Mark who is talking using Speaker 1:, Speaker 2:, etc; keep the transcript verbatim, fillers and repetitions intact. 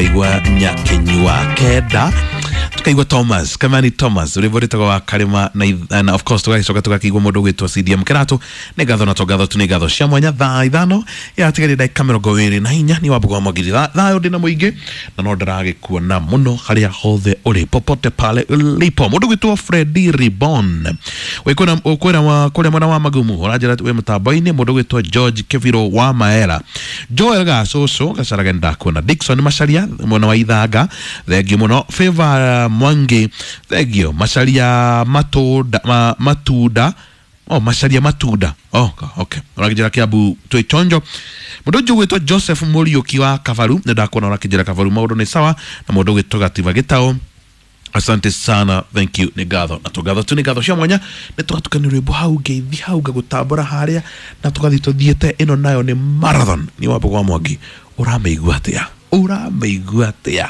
Speaker 1: Tukaigua Nyakenyua kenda, tukaigua Thomas Kamani Thomas rwĩmbo rwĩtagwo wa Karĩma na, na of course tũgagĩcoka tũgakĩigua mũndũ ũgwĩtwo C D M Kĩratũ. Nĩ ngatho na tũngatho tu, nĩ ngatho cia mwanya. Thaa ithano yatigaire ndagĩka mĩrongo ĩrĩ na inya nĩ Wambugu wa Mwangiri. Thayũ ndĩna mũingĩ na no ndĩragĩkuona mũno harĩa hothe ũrĩ, popote pale ulipo. Mũndũ ũgwĩtwo Freddy Ribon ũkwĩra kũrĩa mwena wa Magumu, ũranjĩra wĩ mũtambo-inĩ. Mũndũ ũgwĩtwo George Keviro wa Maera, Joel Gacũcũ Gacaraga ndakuona, Dickson Macharia mwena wa Ithanga, thengiũ mũno. Favor Mwangi, thengio. Macharia matunda, ma, matunda oh, Macharia matunda oh, okay. Ũrakĩnjĩra Kiambu twĩ chonjo. Mũndũ ũngĩ ũgwĩtwo Joseph Mũriũki wa Kabaru, nĩ ndakuona ũrakĩnjĩra Kabaru maũndũ nĩ sawa. Na mũndũ ũgwĩtwo Gativa Gĩtaũ, asante sana, thank you. Nĩ ngatho na tũngatho tu, nĩ ngatho cia mwanya. Nĩ tũgatukania rwĩmbo hau ngeithi hau ngagũtambũra harĩa na tũgathiĩ tũthiĩte. Ĩno nayo nĩ marathon. Nĩ Wambugu wa Mwangi, ũramĩigua atĩa? Ũramĩigua atĩa?